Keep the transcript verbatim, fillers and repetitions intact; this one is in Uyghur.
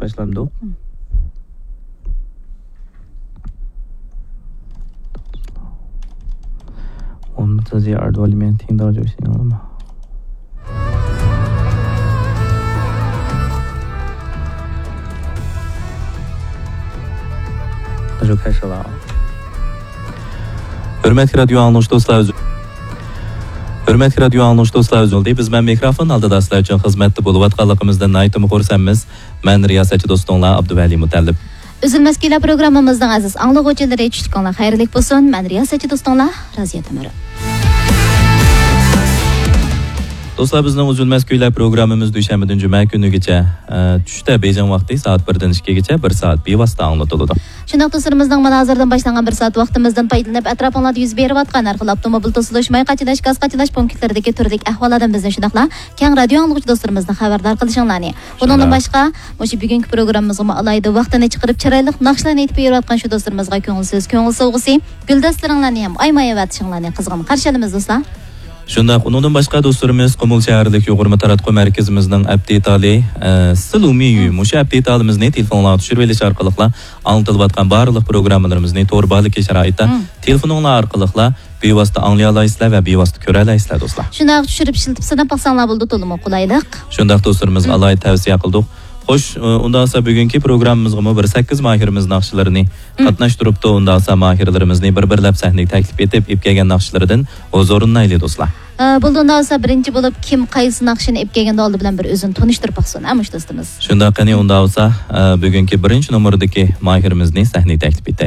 باشلامدۇق؟ ئون بىر ئارىدا ئالىمەن تىڭداۋ جوشىڭلار ما؟ ھۆرمەتلىك رادىيو ئاڭلىغۇچى دوستلار، ئۈز-، ھۆرمەتلىك رادىيو ئاڭلىغۇچى دوستلار، ئۈزۈلدى. بىز مەن مىكروفون ئالدىدا سىلەر ئۈچۈن خىزمەتتە بولۇۋاتقانلىقىمىزدىن ناھايىتىمۇ خۇرسەنمىز. مەن رىياسەتچى دوستۇڭلار ئابدۇۋەلى مۇتەللىپ. ئۈزۈلمەس كۈيلەر پروگراممىمىزنىڭ ئەزىز ئاڭلىغۇچىلىرى، چۈشلۈكۈڭلار خەيرلىك بولسۇن. مەن رىياسەتچى دوستۇڭلار رازىيە تۆمۈر. دوستلار، بىزنىڭ ئۈزۈلمەس كۈيلەر پروگراممىمىز دۈشەنبىدىن جۈمە كۈنىگىچە، ئە، چۈشتە بېيجىڭ ۋاقتى سائەت بىردىن ئىككىگىچە بىر سائەت بىۋاسىتە ئاڭلىتىلىدۇ. شۇنداق دوستلىرىمىزنىڭ مانا ھازىردىن باشلانغان بىر سائەت ۋاقتىمىزدىن پايدىلىنىپ، ئەتراپىڭلاردا يۈز بېرىۋاتقان ھەر خىل ئاپتوموبىل توسۇلۇش، ماي قاچىلاش، گاز قاچىلاش پونكىتلىرىدىكى تۈردىكى ئەھۋاللاردىن بىزنى شۇنداقلا كەڭ رادىيو ئاڭلىغۇچى دوستلىرىمىزنى خەۋەردار قىلىشىڭلارنى. بۇنىڭدىن شۇنداق. باشقا، مۇشۇ بۈگۈنكى پروگراممىمىزغىمۇ ئالاھىدە ۋاقتىنى چىقىرىپ، چىرايلىق ناخشىلارنى ئېيتىپ بېرىۋاتقان شۇ دوستلىرىمىزغا كۆڭۈل سۆز، كۆڭۈل سوۋغىسى، گۈلدەستىلىرىڭلارنى ھەم ئايىمايۋېتىشىڭلارنى قىزغىن قارشى ئالىمىز، دوستلار. شۇنداق، ئۇنىڭدىن باشقا دوستلىرىمىز قۇمۇل شەھەرلىك يۇغۇرما تاراتقۇ مەركىزىمىزنىڭ ئەپ دېتالى، ئە، سىلۇمىيۈ، مم. مۇشۇ ئەپ دېتالىمىزنى تېلېفونغا چۈشۈرۈۋېلىش ئارقىلىقلا ئاڭلىتىلىۋاتقان بارلىق پروگراممىلىرىمىزنى تور بارلىقى شارائىتتا مم. تېلېفونۇڭلار ئارقىلىقلا بىۋاسىتە ئاڭلىيالايسىلەر ۋە بىۋاسىتە كۆرەلەيسىلەر، دوستلار. شۇنداق، چۈشۈرۈپ ئىشلىتىپ سىناپ باقساڭلار بولىدۇ، تولىمۇ قولايلىق. شۇنداق، دوستلىرىمىزغا مم. ئالاھىدە تەۋسىيە قىلدۇق. خوش، ئۇ، ئۇنداق بولسا بۈگۈنكى پروگراممىمىزغىمۇ بىر سەككىز ماھىرىمىز ناخشىلىرىنى مم. قاتناشتۇرۇپتۇ. ئۇنداق بولسا ماھىرلىرىمىزنى بىر-بىرلەپ سەھنىگە تەكلىپ ئېتىپ، ئېلىپ كەلگەن ناخشىلىرىدىن ھۇزۇرلىنايلى، دوستلار. ئە، بولدى، ئۇنداق بولسا بىرىنچى بولۇپ كىم قايسى ناخشىنى ئېلىپ كەلگەندە ئالدى بىلەن بىر ئۆزىنى تونۇشتۇرۇپ باقسۇن، ھە، مۇشۇ دوستىمىز. شۇنداق، قېنى، ئۇنداق بولسا، ئە، بۈگۈنكى بىرىنچى نومۇردىكى ماھىرىمىزنى سەھنىگە تەكلىپ ئېتەيلى.